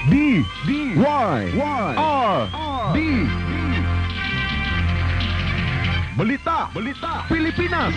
D D Y Y R D. Balita, Balita, Pilipinas.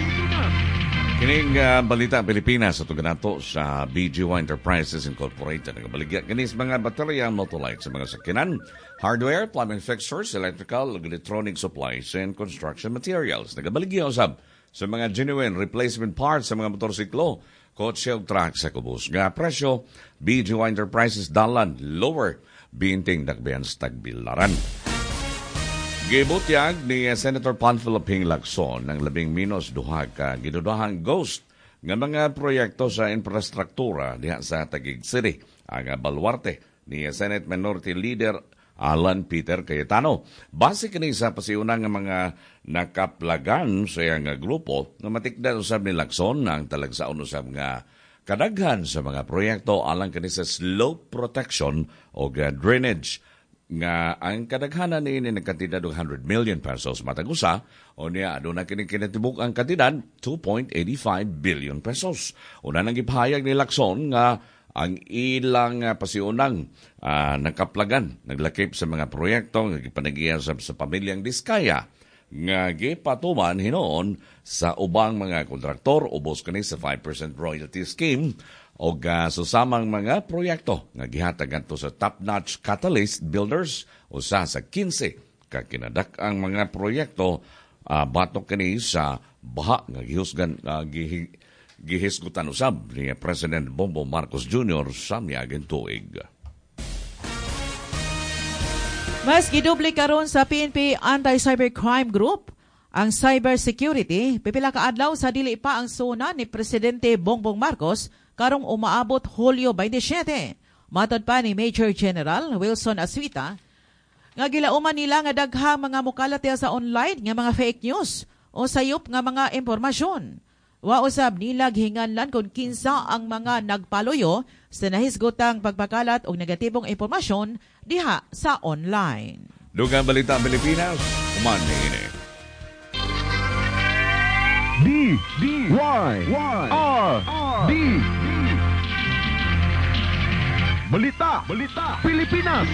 Kining Balita Pilipinas ato ganato sa BGY Enterprises Incorporated. Nagabaligya kini sa mga baterya, motolight sa mga sakyanan, hardware, plumbing fixtures, electrical, electronic supplies, and construction materials. Nagabaligya usab sa mga genuine replacement parts sa mga motorsiklo, kotse ug truck sa kubos nga presyo. BGY Enterprises, Dalan, Lower Binting, Dakbayan sa Tagbilaran. Gibutyag ni Senator Panfilo Ping Lacson ng 12 ka gidudahang ghost nga mga proyekto sa infrastruktura diha sa Taguig City. Ang baluarte ni Senate Minority Leader Alan Peter Cayetano. Base kini sa pasiunang nga mga nakaplagan sa iyang grupo nga matikdan usab ni Lacson ang talagsaon usab nga kadaghan sa mga proyekto alang kini sa slope protection o drainage nga ang kadaghanan niini nagkantidad og 100 million pesos matag usa o niya aduna kini kinatibuk ang kantidad 2.85 billion pesos. Una nang gipahayag ni Lacson nga ang ilang pasiunang nakaplagan naglakip sa mga proyekto nga gipanagiya sa pamilyang Diskaya nga gipatuman hinuon sa ubang mga kontraktor ubos kani sa 5% royalty scheme o susamang mga proyekto nga gihatag ngadto sa top-notch Catalyst Builders, usa sa 15 ka kinadak-ang mga proyekto batok kini sa baha nga gihusgan gihisgutan usab ni President Bongbong Marcos Jr. sa miaging tuig. Mas gidoble karon sa PNP Anti-Cybercrime Group ang cybersecurity pipila ka adlaw sa dili pa ang SONA ni Presidente Bongbong Marcos karong umaabot Hulyo 27. Matod pa ni Major General Wilson Aswita, nga gilauman nila nga daghang mga mukalat sa online nga mga fake news o sayop nga mga impormasyon. Wa usab nila gihinganlan kung kinsa ang mga nagpaluyo sa nahisgotang pagpakalat og negatibong impormasyon diha sa online. Dugang Balita Pilipinas, human niini. D D Y Y R D. Balita, Balita, Pilipinas.